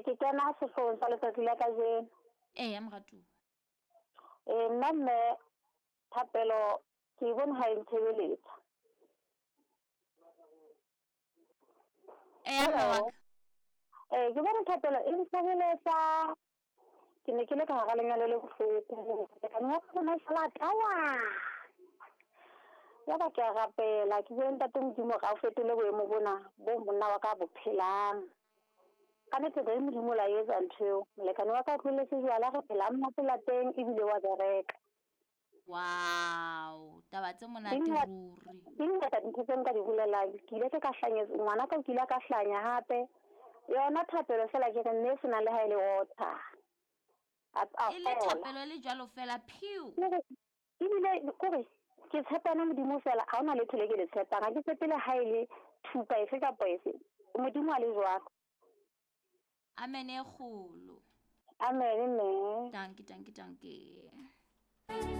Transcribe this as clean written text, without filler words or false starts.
Ke kena sehloohong sa letsatsi la kajeno. Eya moratuwa. Nna mme thapelo ke e bone ha e ntshebeletsa. Eya mme wa ka. Ke bone thapelo e ntshebeletsa. Ke ne ke le ka hara lenyalo le bohloko. Molekane wa ka o na sala tawa. Ya ba ke a rapela, ke bue ntate Modimo hore a o fetole boemo bona bo monna wa ka bo phelang. Ka nnete le Modimo la etsa ntho eo. Molekane wa ka o tlohelletse jwala, re phela monate lapeng ebile wa bereka. Wow, taba tse monate ruri. Di ngata dintho tse nka di bolelang. Ke ile ka hlanyetsa ngwana ka, o kile ka hlanya hape. Yona thapelo fela ke re mme e senang le ha e le water. A E le thapelo e le jwalo fela phew. Ebile kore ke tshepana Modimo fela, ha hona letho le ke le tshepang. Ha ke tshepe le ha e le thupa efe kapa efe. Modimo a le jwalo. Amen e kgolo. Amen mme. Dankie, dankie, dankie.